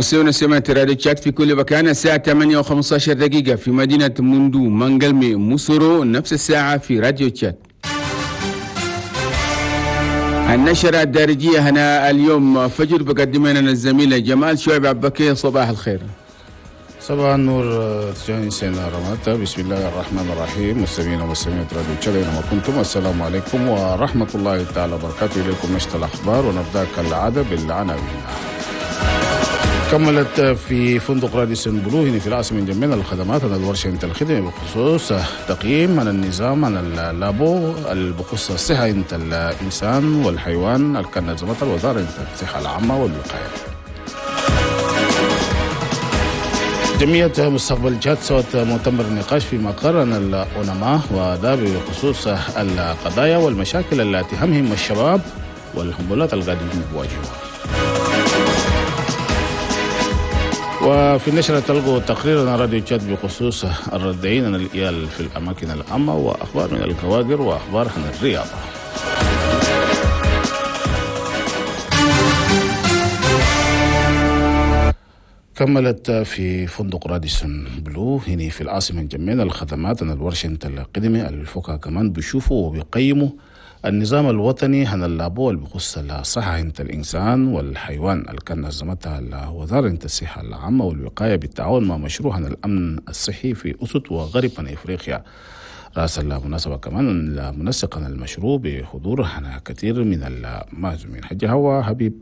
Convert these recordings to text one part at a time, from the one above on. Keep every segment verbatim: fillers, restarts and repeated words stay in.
مستمعينا سمعت راديو تشاد في كل مكان. الساعة ثمانية وخمسة عشر دقيقة في مدينة موندو مانجلمي موسورو، نفس الساعة في راديو تشاد. النشرة الدارجية هنا اليوم فجر بقدم لنا الزميلة جمال شعيب عبكي. صباح الخير. صباح النور تجاني سينا رماتا. بسم الله الرحمن الرحيم. مستمعينا ومستمعات راديو تشاد اينما كنتم، السلام عليكم ورحمة الله تعالى وبركاته. إليكم نشرة الأخبار ونبدأ كالعادة بالعناوين. كملت في فندق راديسون بلو هنا في العاصمة انجمينا الخدمات عن الورشة انت الخدمة بخصوص تقييم عن النظام عن اللابو بخصوص الصحة انت الإنسان والحيوان اللي كان نظمتها الوزارة انت الصحة العامة والوقاية. جمعية مستقبل تشاد سوت مؤتمر نقاش في مقر الأونما، وده بخصوص القضايا والمشاكل التي تهمهم الشباب والحمولات القادمين بواجهها. وفي النشرة تلقوا تقريرنا راديو تشاد بخصوص الردعين عن الإيال في الأماكن العامة، وأخبار من الكوادر وأخبار عن الرياضة. كملت في فندق راديسون بلو هنا في العاصمة انجمينا الخدمات عن الورشة القديمة الفوكا كمان بيشوفوا وبيقيموا النظام الوطني عن اللابو اللي بخص الصحة انت الإنسان والحيوان اللي كان نظمتها الوزارة انت الصحة العامة والوقاية بالتعاون مع مشروع عن الأمن الصحي في أسط وغرب إفريقيا. رأس المناسبة كمان المنسق عن المشروع بحضور كثير من المعزومين. حجة هو حبيب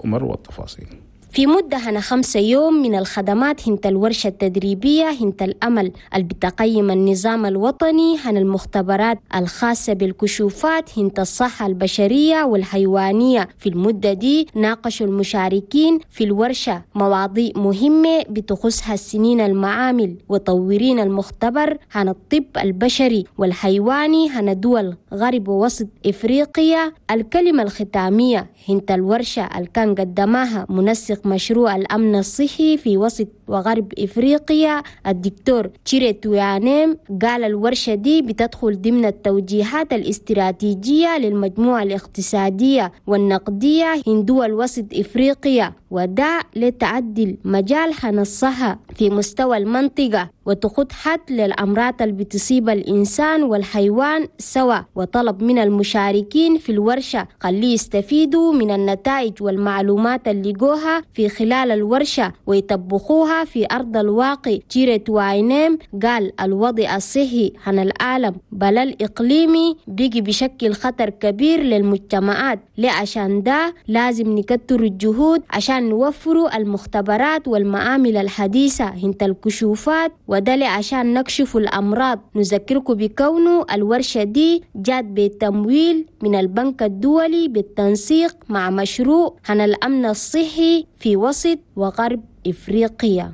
عمر والتفاصيل. في مدة هنا خمسة يوم من الخدمات هنت الورشة التدريبية هنت الأمل اللي بتقيم النظام الوطني هن المختبرات الخاصة بالكشوفات هنت الصحة البشرية والحيوانية. في المدة دي ناقشوا المشاركين في الورشة مواضيع مهمة بتخصها السنين المعامل وطورين المختبر هن الطب البشري والحيواني هن دول غرب ووسط إفريقيا. الكلمة الختامية هنت الورشة اللي كان قدمها منسق مشروع الأمن الصحي في وسط وغرب إفريقيا الدكتور تشيري تويانيم، قال الورشة دي بتدخل ضمن التوجيهات الاستراتيجية للمجموعة الاقتصادية والنقدية هندول وسط إفريقيا، وده لتعدل مجال الصحة في مستوى المنطقة وتخط حد للأمراض اللي بتصيب الإنسان والحيوان سوا. وطلب من المشاركين في الورشة خليه يستفيدوا من النتائج والمعلومات اللي لقوها في خلال الورشة ويطبقوها في أرض الواقع. تشيري تويانيم قال الوضع الصحي عن العالم بل الإقليمي بيجي بشكل خطر كبير للمجتمعات، لعشان ده لازم نكتر الجهود عشان نوفروا المختبرات والمعامل الحديثة هنت الكشوفات، وده عشان نكشف الأمراض. نذكركم بكونه الورشة دي جات بتمويل من البنك الدولي بالتنسيق مع مشروع عن الأمن الصحي في وسط وغرب إفريقيا.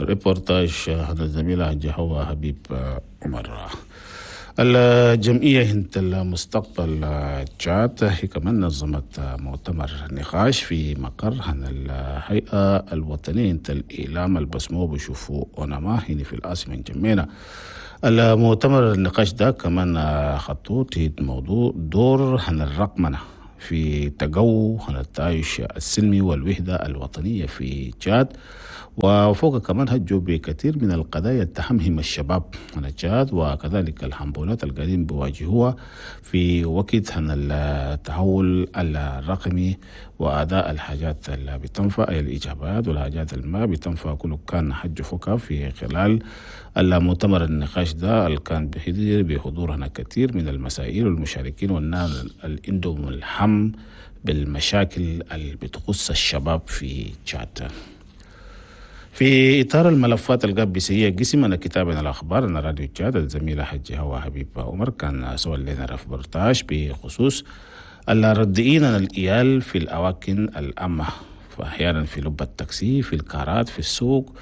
الريبورتاج هذا الزميلة جهوة حبيب عمر. الجمعية هنت المستقبل تشاد هي كمان نظمت مؤتمر نقاش في مقر عن الهيئة الوطنية هنت الإعلام البسمو بشوفوا أونما هنا في العاصمة انجمينا. المؤتمر النقاش ده كمان خطوط موضوع دور عن الرقمنة في تقو عن التعايش السلمي والوحدة الوطنية في تشاد، وفوق كمان هجوا بكثير من القضايا تهمهم الشباب عن تشاد، وكذلك الحنبولات القادمين بواجهوها في وقت عن التحول الرقمي وأداء الحاجات اللي بتنفع أي الإجابات والحاجات اللي ما بتنفع. كله كان حج فوقها في خلال المؤتمر النقاش ده اللي كان بحضور بحضور هنا كثير من المسائل والمشاركين والناس اللي عندهم الهم بالمشاكل اللي بتخص الشباب في تشاد. في إطار الملفات القابسية قسم أنا كتابنا الأخبار أنا راديو تشاد الزميلة حجي هوا حبيب عمر كان سوى لنا ريبورتاج بخصوص الردئين عن الإيال في الأماكن العامة، فأحيانا في لب التاكسي، في الكارات، في السوق،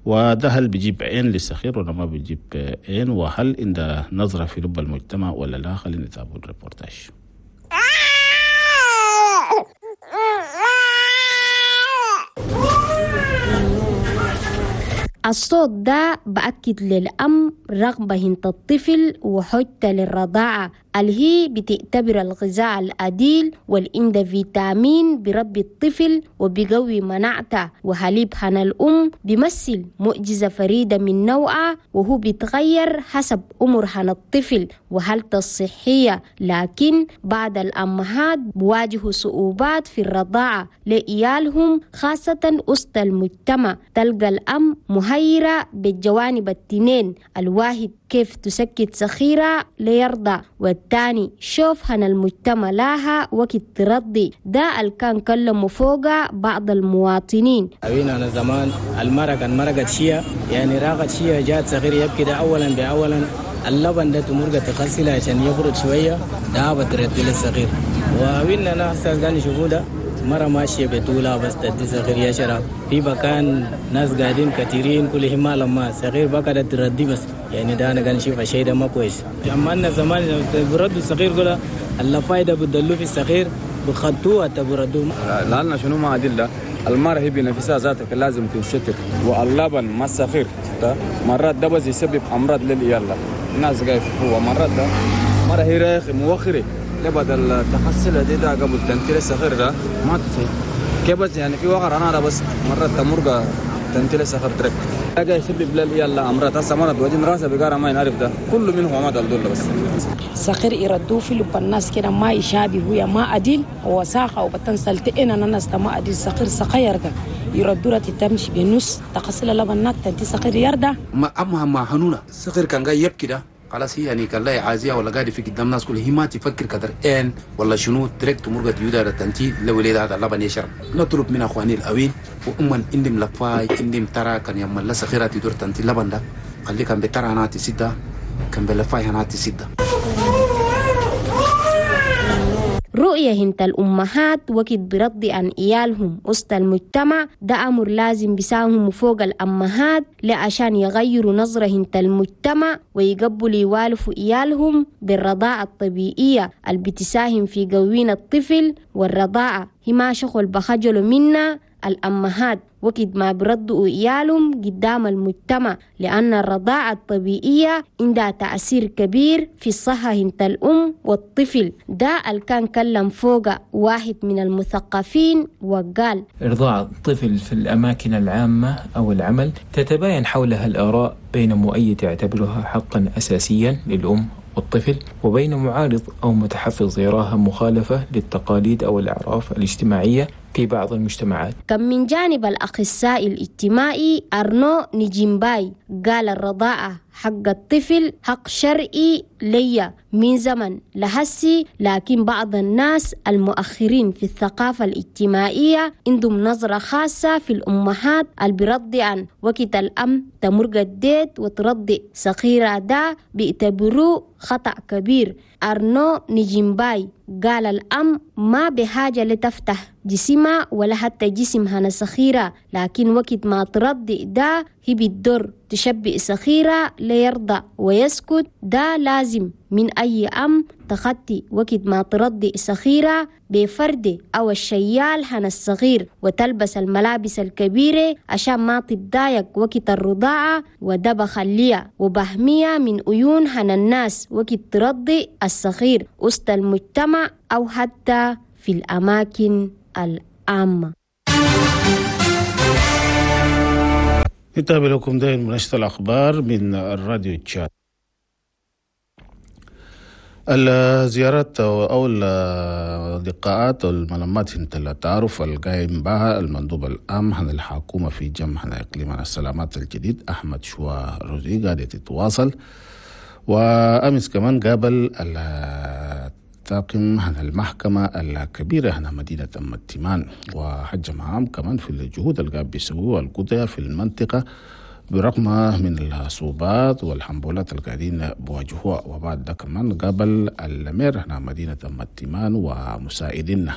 وده هل بيجيب عين للسخير ولا ما بيجيب عين، وهل عند نظرة في لب المجتمع ولا لا. خلينا نتابع الريبورتاج. الصوت ده بأكد للأم رغبة هنت الطفل وحجته للرضاعة. اللي هي بتعتبر الغذاء العديل والإندا فيتامين بربي الطفل وبيقوي مناعته، وحليب هنا الأم بيمثل معجزة فريدة من نوعه وهو بيتغير حسب عمر هنا الطفل وحالته الصحية. لكن بعض الأمهات بواجهوا صعوبات في الرضاعة لإيالهم خاصة وسط المجتمع. تلقى الأم مهيرة بالجوانب التنين، الواحد كيف تسكت صخيرة ليرضى، والتاني شوف هن المجتمع لها وقت ترضي. ده اللي كان كلموا فوق بعض المواطنين. أنا زمان المرة كان مرقت شيء يعني راقت شيء جات صغير يبكي ده أولا بأولا اللبن ده تمرقة تغسله عشان يبرد شوية ده بترد للصغير. وين أنا أستاذ قال شوفوا ده مرة ماشية بطولة بس تدي صغير يشرب في مكان ناس قاعدين كثيرين كلهم ما لما صغير بقى تردي بس يعني ده أنا قاعد نشوف شيء ده ما كويس. أما أنا زمان برد الصغير قولا اللفايدة بدلوا في الصغير بخطوه تبردوا لأن شنو ما أدلة المرة هي بنفسها ذاتك لازم تنستر، واللبن ما الصغير مرات ده بس يسبب أمراض للعيال الناس قاعد هو مرات ده مرة هي رايخ موخري لبدل تحصل دي ده قبل تنتيل الصغير ده ما تسي كيف بس يعني في وقر أنا ده بس مرة تمرقة تنتيل الصغير ترك حاجة يسبب للعيال أمراض هسه مرة بوجين راسه بقارة ما ينعرف ده كله منه ما دل دول بس صغير يردوه في لب الناس كده ما يشابه هو ما أديل وساخة وبتنسل تئنا الناس ما أديل صغير صغير ده يردوا تمشي بنص تقصل لبنات تنتي صغير يرده ما أما ما هنونا صغير كان جاي يبكي ده خلاص هي يعني كان لا عازية ولا قاعد في قدام الناس كلها هي ما تفكر كدر ان ولا شنو تركت تمرقة يودا تنتي لو وليد هذا اللبن يشرب. نطلب من اخواني الاوين وامن اندم لفاي اندم ترى كان يوم لا صغيرة تدور تنتي لبن ده خلي كان بترى هناتي سده كان بلفاي هناتي سده. رؤية هنت الأمهات وقت برضي عن إيالهم وسط المجتمع ده أمر لازم بيساهم فوق الأمهات لعشان يغيروا نظرة هنت المجتمع ويقبلوا يوالفوا إيالهم بالرضاعة الطبيعية اللي بتساهم في قوين الطفل. والرضاعة هي ما شغل بخجلوا منا الأمهات وقت ما بردوا إيالهم قدام المجتمع، لأن الرضاعة الطبيعية عندها تأثير كبير في الصحة هنت الأم والطفل. ده اللي كان كلم فوق واحد من المثقفين وقال إرضاع الطفل في الأماكن العامة أو العمل تتباين حولها الآراء بين مؤيد يعتبرها حقا أساسيا للأم والطفل وبين معارض أو متحفظ يراها مخالفة للتقاليد أو الأعراف الاجتماعية في بعض المجتمعات. كم من جانب الأخصائي الاجتماعي أرنو نجيمباي قال الرضاعة حق الطفل حق شرعي ليا من زمن لهسي، لكن بعض الناس المؤخرين في الثقافة الاجتماعية عندهم نظرة خاصة في الأمهات اللي بيرضعن وقت الأم تمرق الديت وترضع صغيرة ده بيعتبروه خطأ كبير. أرنو نجيمباي قال الأم ما بحاجة لتفتح جسمها ولا حتى جسمها صغيرة، لكن وقت ما ترضع ده هي بتضر تشبئ صغيرة ليرضع ويسكت. ده لازم من أي أم تخطي وقت ما ترضع صغيرة بفرد أو الشيال هنا الصغير وتلبس الملابس الكبيرة عشان ما تتضايق وقت الرضاعة، وده بخليها وبهمية من عيون هنا الناس وقت ترضع الصغير وسط المجتمع أو حتى في الأماكن العامة. نتابع لكم دائما منشط الأخبار من الراديو تشاد. الزيارات أو اللقاءات والملمات انت التعارف القائم بها المندوب العام عن الحكومة في جمع إقليم السلامات الجديد أحمد شوا روزي قاعدة تتواصل. وأمس كمان قابل الطاقم عن المحكمة الكبيرة هنا مدينة أم التيمان وحج معام كمان في الجهود اللي قاعد بيسووها القضية في المنطقة برغم من الصعوبات والحنبولات اللي قاعدين بواجهوها. وبعد ده كمان قابل المير هنا مدينة أم التيمان ومساعدينه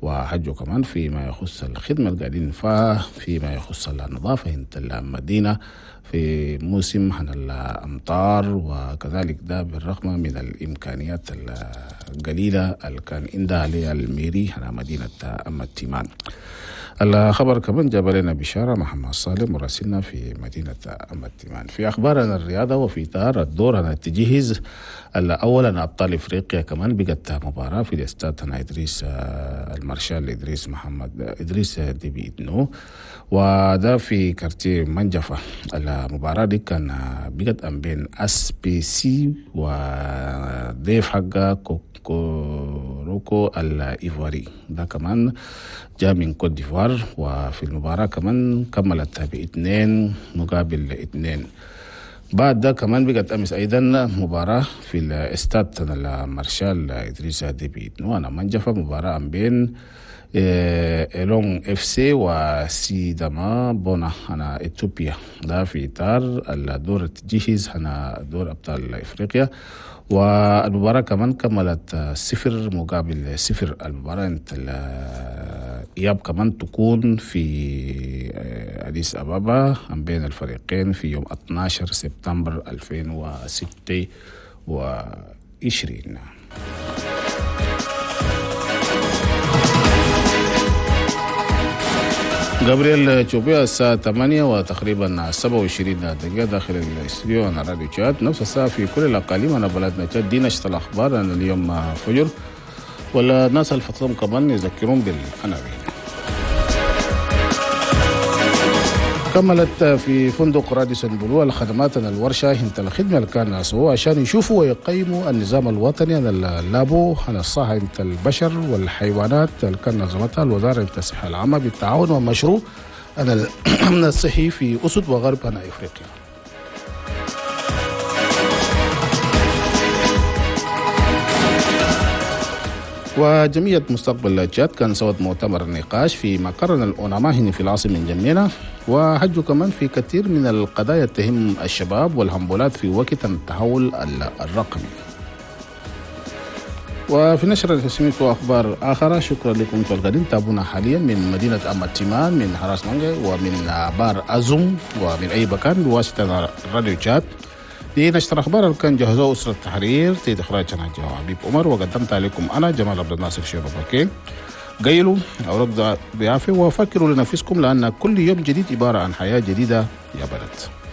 وحجوا كمان فيما يخص الخدمة اللي قاعدين فيها فيما يخص النظافة انت المدينة في موسم عن الأمطار، وكذلك ده بالرغم من الإمكانيات القليلة اللي كان عندها الميري على مدينة أم التيمان. الخبر كمان جاب لنا بشارة محمد صالح مراسلنا في مدينة أم التيمان. في أخبارنا الرياضة وفي إطار الدور أنا التجهيز أولا أبطال إفريقيا كمان بقت مباراة في الاستاد إدريس المارشال إدريس محمد إدريس ديبي إدنو، وده في quartier منجفة. المباراة دي كان بقت أم بين اس بي سي وضيف حقه كوروكو الإيفواري، ده كمان جاء من كوت ديفوار. وفي المباراة كمان كملت باثنين مقابل اثنين. بعد ده كمان بقت أمس أيضا مباراة في الاستاد المارشال إدريس ديبي إدنو أنا منجفة، مباراة بين إلون اف سي وسيداما بونا أنا إثيوبيا، ده في إطار الدور التجهيز أنا دور أبطال إفريقيا. والمباراة كمان كملت صفر مقابل صفر. المباراة انت الإياب كمان تكون في أديس أبابا بين الفريقين في يوم اثني عشر سبتمبر ألفين وستة وعشرين. جابرييل تشوبيا الساعة ثمانية وتقريبا سبعة وعشرين دقيقة داخل الاستوديو أنا راديو تشاد، نفس الساعة في كل الأقاليم. أنا بلدنا تشاد دي نشرة الأخبار أنا اليوم فجر، ولا الناس الفطرهم كمان يذكرون بالعناوين. كملت في فندق راديسون بلو الخدمات الورشة انت الخدمة اللي كان سووها عشان يشوفوا ويقيموا النظام الوطني عن اللابو عن الصحة انت البشر والحيوانات اللي كان نظمتها الوزارة انت الصحة العامة بالتعاون ومشروع عن الأمن الصحي في أسد وغرب عن إفريقيا. وجمعية مستقبل تشاد كان سوت مؤتمر نقاش في مقرنا الأوناماهني في العاصمة جمينة، وحجوا كمان في كثير من القضايا تهم الشباب والهمبولات في وقت التحول الرقمي. وفي نشرة التسمية وأخبار آخرى. شكرا لكم أنتم القادين تابونا حاليا من مدينة أم التيمان، من حراس مانجا، ومن بار أزوم، ومن أي مكان بواسطة راديو تشاد. دي نشر أخبار كان جهزوه أسرة التحرير تيد إخراج حبيب عمر، وقدمت عليكم أنا جمال عبد الناصر شيخ بكي. قيلوا أو ضيافة وفكروا لنفسكم، لأن كل يوم جديد عبارة عن حياة جديدة يا بلد.